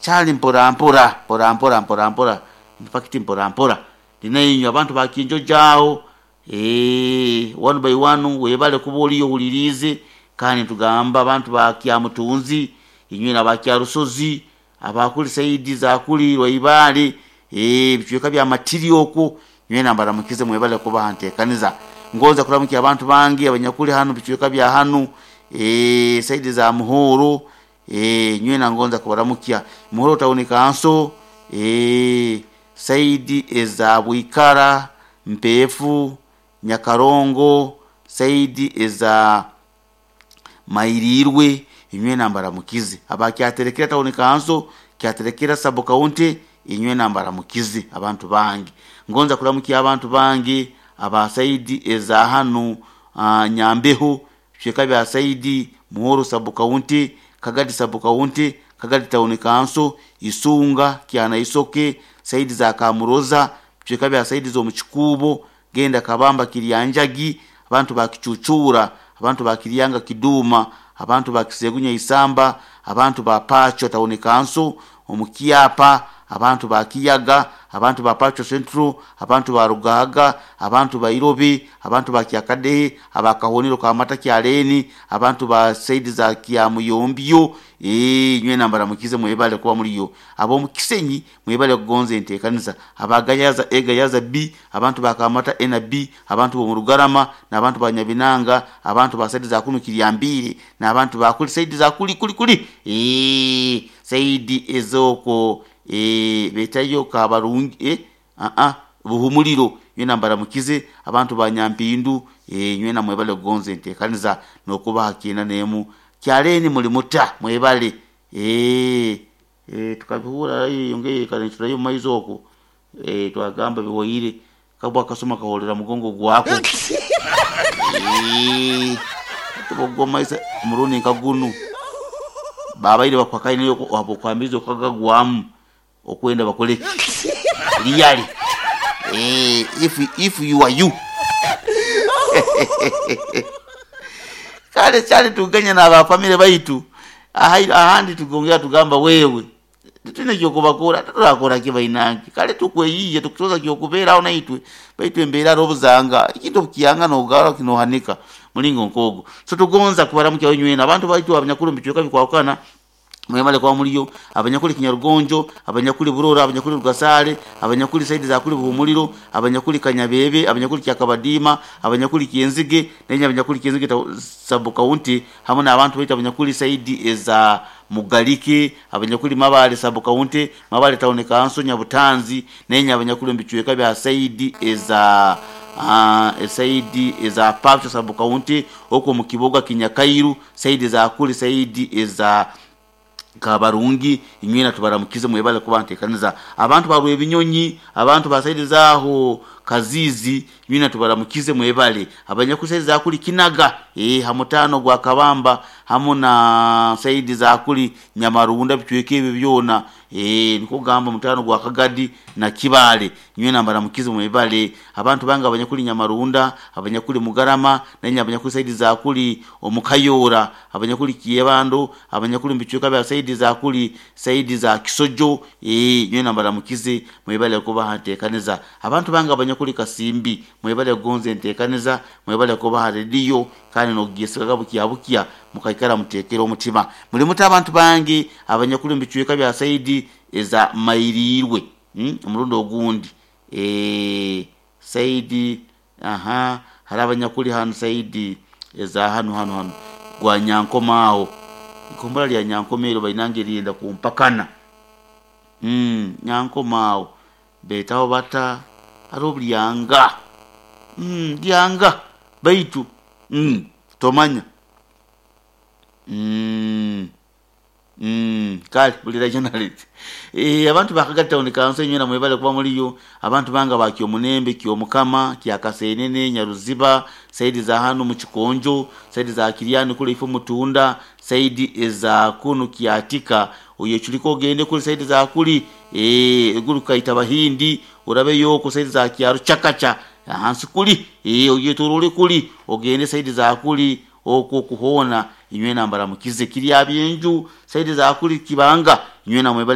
Kyali mpora mpora mpora mpora mpora mpora, in fact mpora mpora ndinainywe abantu bakinjojo aho, one by one webale kuba oliyo ohuliriize. Kandi nitugamba abantu ba Kyamutunzi, inywe n'aba Kyarusozi, abakuli saidi za kuli Rwaibale, ebicweka bya Matiri okwo, nywena mbaramukize mwebale kuba ha nteekaniza. Ngonza kuramukya abantu bange abanyakuli hanu bicweka bya hanu, saidi za Muhoro, nywena ngonza kubaramukya. Muhoro Town Council, saidi eza Bwikara, Mpeefu, Nyakarongo, saidi eza Mairirwe, inywena mbaramukize. Aba Kyaterekera Town Council, Kyaterekera Sub County, inywena mbaramukize abantu bange. Ngonza kuramukya abantu bange aba saidi eza hanu Nyambeho, bicweka bya saidi Muhoro Sub County, Kagadi Sub County, Kagadi Town Council, Isunga, Kyanaisoke, saidi za Kamuroza, bicweka bya saidi z'omu Kikuubo, genda Kabamba Kiryanjagi, abantu ba Kicucura, abantu ba Kiryanga Kiduma, abantu ba Kisegunya Isamba, abantu ba Pacho Town Council, omu Kyapa, abantu ba Kiyaga, abantu ba Pacho Central, abantu ba Rugaga, abantu ba Irobi, abantu ba Kyakadehe, aba Kahonero Kamata Kyaleni, abantu ba saidi za Kyamuyombyo, nywena mbaramukize mwebale kuba muliyo. Ab'omu Kisenyi mwebale kugonza enteekaniza. Aba Gayaza A Gayaza B, abantu ba Kamata A na B, abantu b'omu Rugarama, n'abantu ba Nyabinanga, abantu ba saidi za kunu Kiryambire, n'abantu ba kuli saidi za kuli kuli kuli, saidi ez'okwo, betayo Kabarungi, Buhumuliro, nywena mbaramukize. Abantu ba Nyampindu, nywena mwebale kugonza enteekaniza n'okubaha kyenda n'emu. Kyaleni muli muta mwebale, tukabihura yongeye kaniturayo omu maiso okwo, twagamba bihoire kabwa akasoma kaholera mugongo gwako. Tubogwa maiso omurundi nka gunu babaire bakwakaine okwambiza okagagwamu okwenda bakoleki really, if you are you. Kale kyali tuganya n'abafamire baitu ahandi tugongera tugamba wewe titwine kyokubakora, turakora ki bainange. Kale tukweyiye tukusoza kyokubeeraho naitwe, baitu embeera arobuzanga ekintu obukiyanga nogara kinohanika mulingo nk'ogwo. So tugonza kubaramukya nywena abantu baitu abanyakuli omu bicweka bikwahukana, mwebale kuba muliyo. Abanyakuli Kinyarugonjo, abanyakuli Burora, abanyakuli Rugasale, abanyakuli saidi za kuli Buhumuliro, abanyakuli Kanyabebe, abanyakuli Kyakabadiima, abanyakuli Kyenzige, nenye abanyakuli Kyenzige Sub County, hamwe n'abantu baitu abanyakuli saidi eza Mugalike, abanyakuli Mabale Sub County, Mabale Town Council, Nyabutanzi, nenye abanyakuli omu bicweka bya saidi eza saidi eza Pacho Sub County, okwo mu Kiboga Kinyakairu, saidi za kuli saidi eza Kabarungi, inywena tubaramukize mwebale kuba nteekaniza. Abantu ba Rwebinyonyi, abantu ba saidi zaaho Kaziizi, nywena tubaramukize mwebale. Abanyakuli saidi za kuli Kinaga, hamutaano gwa Kabamba, hamu na saidi za kuli Nyamarunda, bicweka ebyo byona, nikwo kugamba mutaano gwa Kagadi na Kibale, nywena mbaramukize mwebale. Abantu bange abanyakuli Nyamarunda, abanyakuli Mugarama, nenye abanyakuli saidi za kuli Omukayora, abanyakuli Kyebando, abanyakuli mu bicweka bya saidi za kuli saidi za Kisojo, nywena mbaramukize mwebale kubaha nteekaniza. Abantu bange abanyakuli Kasimbi mwebale kugonza enteekaniza, mwebale kubaha rediyo kandi n'okugyesigaga bukya bukya mukaikara muteekere omutima. Muli muta abantu bange abanyakuli mu bicweka bya saidi eza Mairirwe, omurundi ogundi, saidi aha hariho abanyakuli hanu saidi eza hanu hanu hanu gwa Nyankoma aho, ikombora lya Nyankoma eryo bainange lyenda kumpakana, Nyankoma aho beetaho bata hariho Buryanga, Lyanga baitu tomanya, kale buli regionality. Abantu ba Kagadi Town Council inywena mwebale kuba muliyo. Abantu bange ba Kyomunembe, Kyomukama, Kyakasenene, Nyaruziba, saidi za hanu mu Kikonjo, saidi za Kiryani kule ifo Mutunda, saidi eza kunu Kyatika, oyechuliko ogende kuli saidi za kuli, eguru kaita Bahindi, orabeyo ku saidi za Kyaru Chakacha ahansi kuli, oyetorole kuli ogende saidi za kuli okwo kuhona, inywena mbaramukize. Kirya byenju saidi za kuli Kibanga, inywena mwebale.